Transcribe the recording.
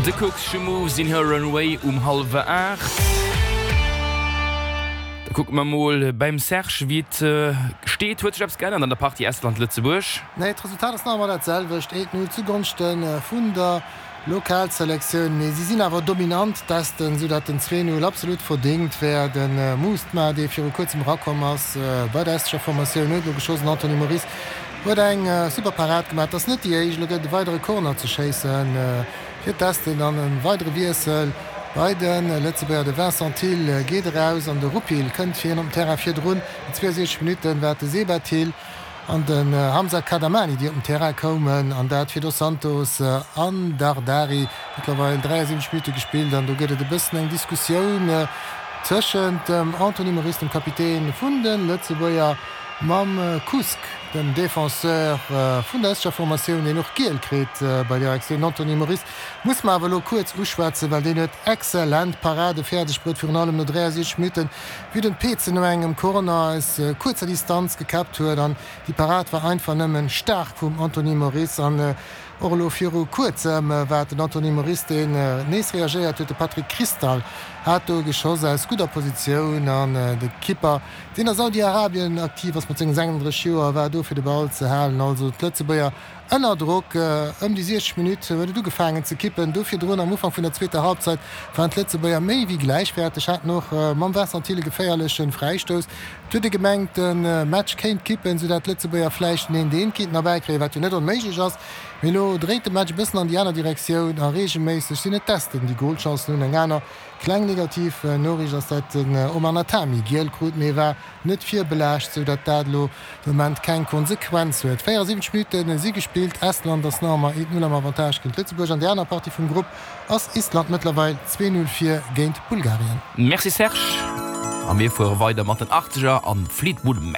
The Kooks, She Moves In Her Own Way um hallwer 8. Da kucke mer mol beim Serge wéi et steet. Huet sech eppes geännert an der Partie Estland-Lëtzebuerg? Nee, d'Resultat ass nach ëmmer dat selwecht, 1, 0 zugonschte vun der Lokalselektioun. Mee si sinn awer dominant, d'Esten, sou dat den 2, 0 absolut verdéngt wär. De Mustma, dee viru kuerzem erakomm ass bei der estescher Formatioun, huet elo geschoss. Den Anthony Moris huet eng super Parad gemaach. Et ass net déi éischt. Elo gëtt et e weidere Corner ze schéisse fir d'Esten an e weidere Wiessel bei de Lëtzebuerger. De Vincent Thill geet eraus an de Rupil kënnt fir hien op den Terrain. Virdrun, no 62 Minutten, war et de Seba Thill. An den Hamza Kadamani, déi op den Terrain koumen, an dat fir Dos Santos an Dardari. Mëttlerweil 73 Minutte gespillt an do gëtt et e bëssen eng Diskussioun tëschent dem Anthony Moris, dem Kapitän vun de Lëtzebuerger, mam Kusk, dem Defenseur vun der estescher Formatioun, deen och giel kritt bei där Aktioun. Den Anthony Moris muss mer awer elo kuerz uschwätzen, well deen huet exzellent Parade fäerdeg bruet, virun allem no 63 Minutten. wéi den Peetze no engem Corner aus kuerzer Distanz gekäppt huet an déi Parad war einfach nëmmen staark vum Anthony Moris an och elo viru kuerzem war et den Anthony Moris deen nees reagéiert huet. De Patrick Kristal hat do geschoss aus gudder Positioun an de Kipper deen a Saudi-Arabien aktiv ass mat sengen 36 Joer war do fir de Ball ze halen. Also d'Lëtzebuerger Ënner Drock, ëm déi 60 Minutt huet et ugefaangen ze kippen. Do virdrun, am Ufank vun der zweeter Halbzeit, waren d'Lëtzebuerger méi wéi gläichwäerteg, haten och mam Vincent Thill e geféierleche Fräistouss. Et huet ee gemengt, de Match kéint kippen, soudatt d'Lëtzebuerger vläicht en Eent-Eent kéinten erbäikréien, wat jo net onméiglech ass. Mee elo dréit de Match e bëssen an déi aner Direktioun a reegelméisseg sinn et d'Esten, déi Golchancen hunn. Eng aner kleng negativ Noriicht ass, dat den Omar Natami giel krut, mee e war net virbelaascht, sou datt dat elo de Moment keng Konsequenz huet. 74 Minutte si gespillt, Estland ass nach ëmmer 1, 0 am Avantage géint Lëtzebuerg. An der aner Partie vum Grupp ass Island mëttlerweil 2, 0 vir géint Bulgarien. Merci Serge, a mir fuere weider mat den Achtzeger an Fleetwood Mac.